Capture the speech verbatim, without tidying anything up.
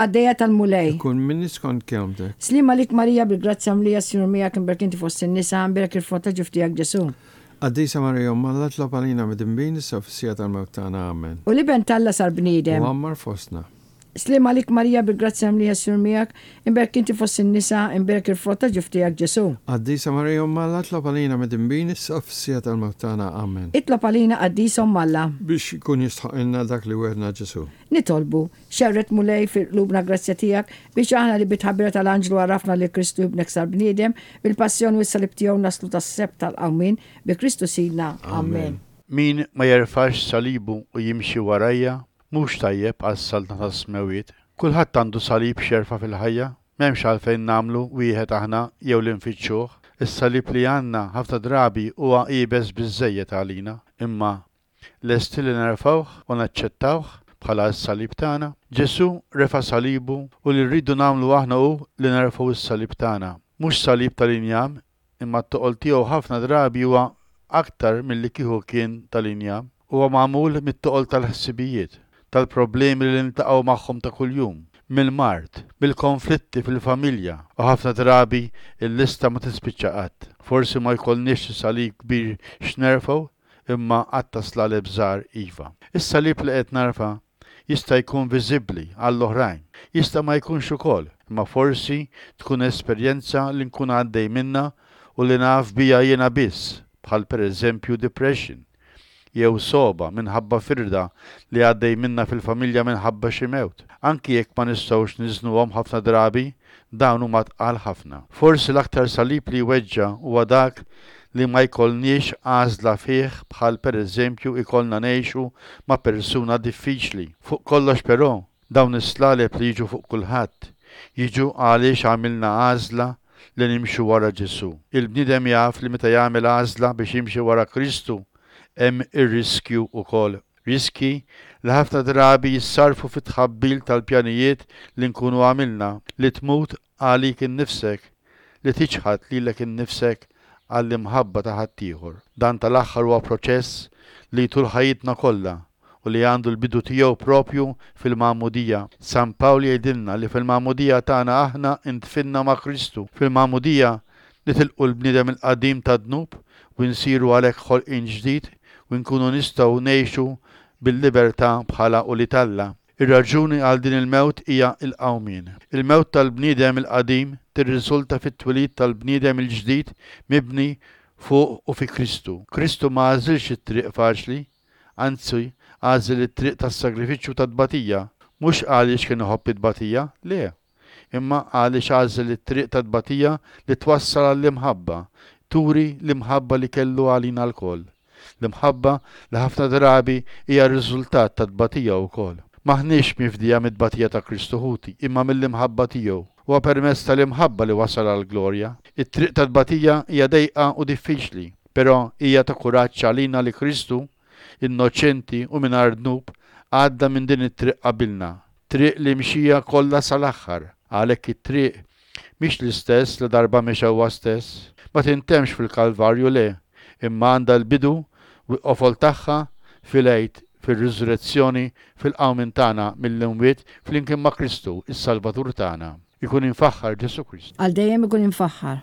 Qaddejja tal-Mulej. Ikun minni skont kelmtek. Sliem għalik Marija bil-grazzja mlija s-Sinjur miegħek imberka inti fost in-nisa imberek il-frott ta' ġuf tiegħek Ġesu. Qaddisa Marija Omm Alla itlob għalina midinbin issa fis-siegħa tal-mewt tagħna. Amen. U l-Iben t'Alla sar bniedem. U għammar fostna. Sliem għalik Marija bil-grazzja mlija s-Sinjur miegħek imberka inti fost in-nisa imberek il-frott ta' ġuf tiegħek Ġesu. Qaddisa Marija Omm Alla itlob għalina midinbin issa fis-siegħa tal-mewt tagħna. Amen. Itlob għalina Qaddisa Omm Alla. Biex ikun jistħoqqilna dak li wegħedna Ġesu. Nitolbu, xerred Mulej fil-qlubna grazzja tiegħek biex aħna li bit-tħabbira tal-anġlu għarafna li Kristu ibnek sar bniedem, bil-passjoni u s-salib tiegħu naslu tas-sebħ tal-qawmien bi Kristu Sidna. Amen. Min ma jerfax salibu u jimxi warajja, mhux tajjeb għas-saltna tas-smewwiet. Kulħadd għandu salib x'jerfa' fil-ħajja, m'hemmx għalfejn nagħmlu wieħed aħna jew li nfittxuh. Is-salib li għandna ħafna drabi huwa iebes biżżejjed għalina, imma lesti li nerfgħuh u naċċettawh bħala s-salib tagħna. Ġesu refa' salibu u li rridu nagħmlu aħna hu li nerfgħu s-salib tagħna. Mhux salib tal-injam, imma t-toqol tiegħu ħafna drabi huwa aktar milli kieku kien tal-injam. Huwa magħmul mit-toqol tal-ħsibijiet, tal-problemi li niltaqgħu magħhom ta' kuljum, mill-mard, mill-konflitti fil-familja, u ħafna drabi il-lista ma tispiċċa qatt. Forsi ma jkollniex salib kbir x'nerfgħu, imma għadd ta' slaleb żgħar iva. Is-salib li qed narfa' jista' jkun viżibbli għall-oħrajn, jista' ma jkunx ukoll, imma forsi tkun esperjenza li nkun għaddej minna u li naf bija jiena biss, bħal pereżempju depression, jew sogħba minħabba firda li għaddej minna fil-familja minħabba xi mewt. Anki jekk ma nistgħux niżnuhom ħafna drabi, dawn huma tqal ħafna. Forsi l-aktar salib li jweġġa' huwa dak li ma jkollniex għażla fih bħal pereżempju ikollna ngħixu ma' persuna diffiċli. Fuq kollox però, dawn is-slaleb li jiġu fuq kulħadd, jiġu għaliex għamilna għażla li nimxu wara Ġesu. Il-bniedem jaf li meta jagħmel għażla biex jimxi wara Kristu, hemm ir-riskju wkoll. Riski li ħafna drabi jissarfu fit-tħabbil tal-pjanijiet li nkunu għamilna, li tmut għalik innifsek, li tiċħad lilek innifsek għall-imħabba ta' ħaddieħor. Dan tal-aħħar huwa proċess li tul ħajjitna kollha u li għandu l-bidu tiegħu propju fil-magħmudija. San Pawl jgħidilna li fil-magħmudija tagħna aħna ndfinna ma' Kristu. Fil-magħmudija nitilqu l-bniedem il-qadim tad-dnub u nsiru għalhekk ħolqien ġdid u nkunu nistgħu ngħixu bil-libertà bħala ulied Alla. Ir-raġuni għal din il-mewt hija l-qawmien. Il-mewt tal-bniedem il-qadim tirriżulta fit-twelid tal-bniedem il-ġdid mibni fuq u fi Kristu. Kristu ma għażilx it-triq faċli, anzi għażel it-triq tas-sagrifiċċju tat-tbatija, mhux għaliex kien iħobb it-tbatija, le, imma għaliex għażel it-triq tat-tbatija li twassal għall-imħabba, turi l-imħabba li kellu għalina lkoll. L-imħabba li ħafna drabi hija r-riżultat tat-tbatija wkoll. M'aħniex mifdija mit-tbatija ta' Kristu ħuti, imma mill-imħabba tiegħu. Huwa permezz tal-imħabba li wasal għall-glorja. It-triq tat-tbatija hija dejqa u diffiċli, però hija ta' kuraġġ għalina li Kristu, innoċenti u mingħajr dnub, għadda minn din it-triq qabilna. Triq li mxija kollha sal-aħħar. Għalhekk it-triq mhix l-istess li darba mexa huwa stess. Ma tintemmx fil-Kalvarju le, imma għandha l-bidu u l-qofol tagħha fil-Għid, fir-riżurrezzjoni, fil-qawmien tagħna mill-imwiet flimkien ma' Kristu, is-Salvatur tagħna. Ikun infaħħar Ġesu Kristu. Għal dejjem ikun infaħħar.